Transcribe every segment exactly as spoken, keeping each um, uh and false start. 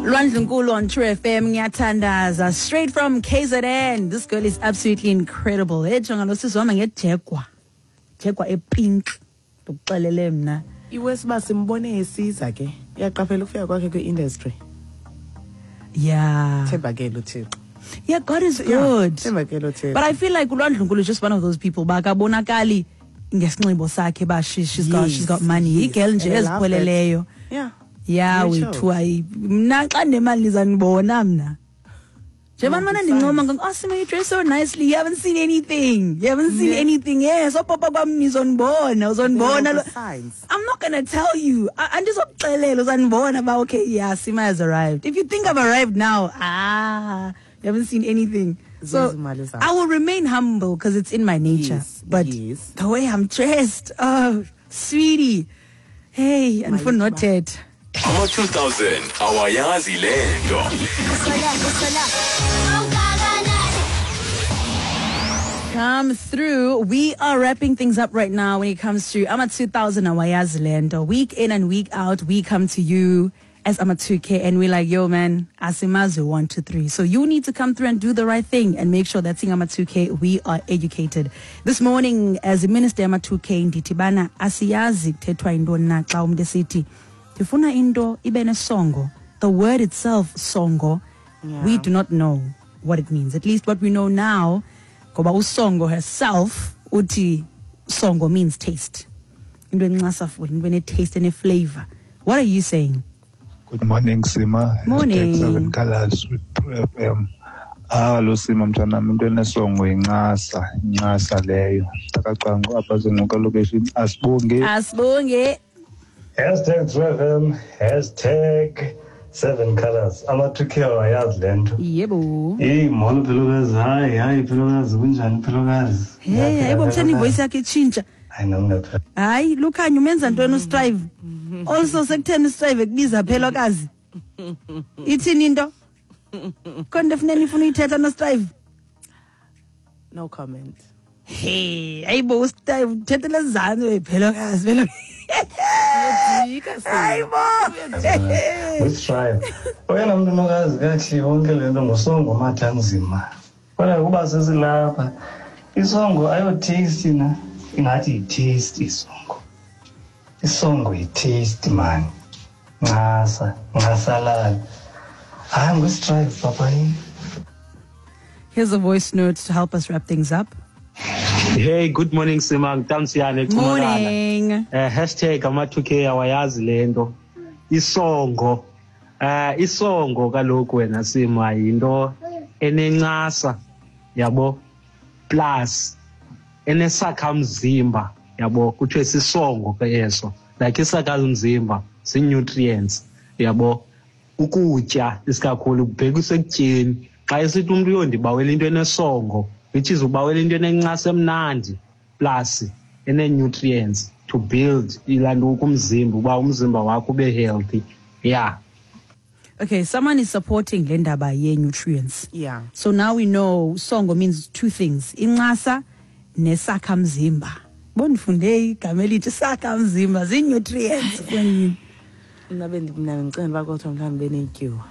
Lwandlunkulu on True F M, ngiyathandaza, straight from K Z N. This girl is absolutely incredible. Hey, jonga lo sisi wami ngejegwa. Jegwa epink. Ndikuxelele mna. Iwesiba simbone esiza ke. Uyaqaphela ukufika kwakhe kwi-industry. Yeah. Thembakele uThixo. Yeah, God is good. Thembakele uThixo. But I feel like uLwandlunkulu is just one of those people bakabonakali ngesinxibo sakhe ba she, she's got yes, she's got money. Yes. Igirl nje And I love that. ezipholeleyo. Yeah. Yeah, Very wethu ayi mna xa nemali nizanibona mna. Njengoba Yeah, mana ndincoma ngo oh Sima, you dress so nicely. You haven't seen anything. You haven't seen Yeah. anything. Yes, so papa kwam nizonibona, uzonibona. There are signs. I'm not going to tell you. Andizokuxelela uzanibona ba okay, yeah, Sima has arrived. If you think I've arrived now, ah, you haven't seen anything. So Zezimali zakho. I will remain humble because it's in my nature. Yes, but yes. the way I'm dressed, oh, sweetie. Hey, and for not yet. Ama two thousand awayazi lento. Come through. We are wrapping things up right now when it comes to Ama two thousand awayazi lento. Week in and week out, we come to you as Ama two K and we're like, yo man, asimazi one, two, three. So you need to come through and do the right thing and make sure that sing Ama two K, we are educated. This morning, as a minister Ama two K, ndithi bana asiyazi kuthethwa intoni na xa umntu esithi ndifuna into ibe nesongo. The word itself, songo, Yeah. we do not know what it means. At least what we know now, ngoba usongo herself, uthi songo means taste. Into encasa futhi, into ene-taste and flavor. What are you saying? Good morning, Sima. Morning. Hashtag seven colors with True F M. Ah, lo Sima mntwanami, into enesongo incasa, incasa leyo. Takacwangu apha zinquka location. Asibonge. Asibonge. Hashtag True F M, hashtag seven colors. Ama two K awayazi le nto. Yebo. Hey, molo Phelokazi. Hayi, hayi Phelokazi, kunjani Phelokazi? Hey, hayibo kutheni ivoice yakhe itshintsha? Hayi, no, ngiyaphela. Hayi, Lukhanyo umenza ntoni uStrive? Also sekutheni uStrive ekubiza Phelokazi? Ithini into? Khona into efuneka nifuna uyithetha noStrive? No comment. Hey, hayibo uStrive uthethela ezantsi we Phelokazi, Phelokazi. Hayibo. UStrive. Oyena mntu nokazi kakuhle yonke le nto ngusongo Mathanzima. Kodwa kuba sesilapha, isongo ayo taste na, ingathi yi-taste isongo. Isongo yi-taste man. Ncasa, ncasalala. Hayi nguStrive papa yini. Here's a voice note to help us wrap things up. Hey, good morning Sima, ngitamsiyane Morning. Eh hashtag ama two K awayazi lento. Isongo. Eh isongo kaloku wena Sima yinto enencasa yabo plus enesakhamzimba yabo kuthiwe sisongo ke eso. Like isakhamzimba si nutrients yabo ukutya isikakhulu kubhekiswe ekutyeni. Xa esithi umuntu uyondibawela into enesongo, which is ubawela into enencasa emnandi plus ene-nutrients to build ilanto kumzimba uba umzimba wakho ube healthy. Yeah. Okay, someone is supporting le ndaba ye-nutrients. Yeah. So now we know songo means two things. Incasa nesakhamzimba. Bondifunde igama elithi sakhamzimba, zii-nutrients kwenye. Mna mna ndicinga uba kodwa mhlawumbi benetyuwa.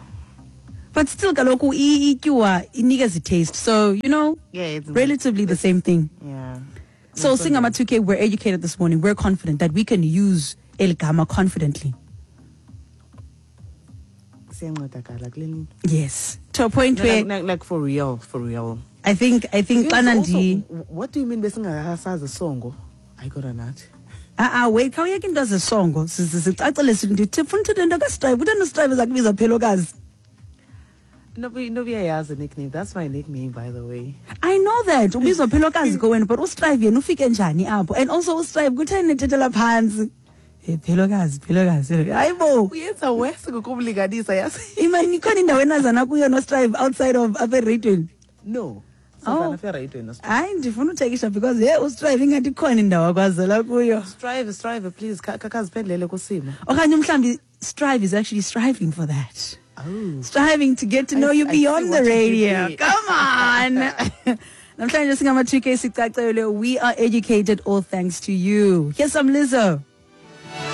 But still kaloku ityuwa inikeza taste. So, you know, yeah, it's relatively the same thing. Yeah. So sing Ama two K, we're educated this morning. We're confident that we can use el gama confidently. Yes. To a point no, where like, like, like for real, for real. I think I think also, what do you mean besingasazi songo? I got a nut. Ah ah wait, khawuyeke into zesongo. Sicacele sithi funa uthetha into kaStrive. Utheni uStrive ezakubiza Phelokazi? Nobody, nobody has a nickname. That's my nickname, by the way. I know that. Ubizwa Phelokazi kowena, but uStrive yena ufike njani apho? And also uStrive kutheni nethethela phantsi? Hey Phelokazi, Phelokazi. Hayibo. Uyenza worse ngokumlinganisa yazi. Imani ikhona indawo enazana kuyo noStrive outside of apha eradweni? No. Oh. Hayi ndifuna uthekisha because hey uStrive ingathi ikhona indawo akwazela kuyo. Strive, Strive please kakaziphendlele kusimo. Okanye mhlambi Strive is actually striving for that. Oh. Striving to get to know I, you beyond the radio. Come on. Namhlanje singama two K sicacele, we are educated all thanks to you. Here's some Lizzo.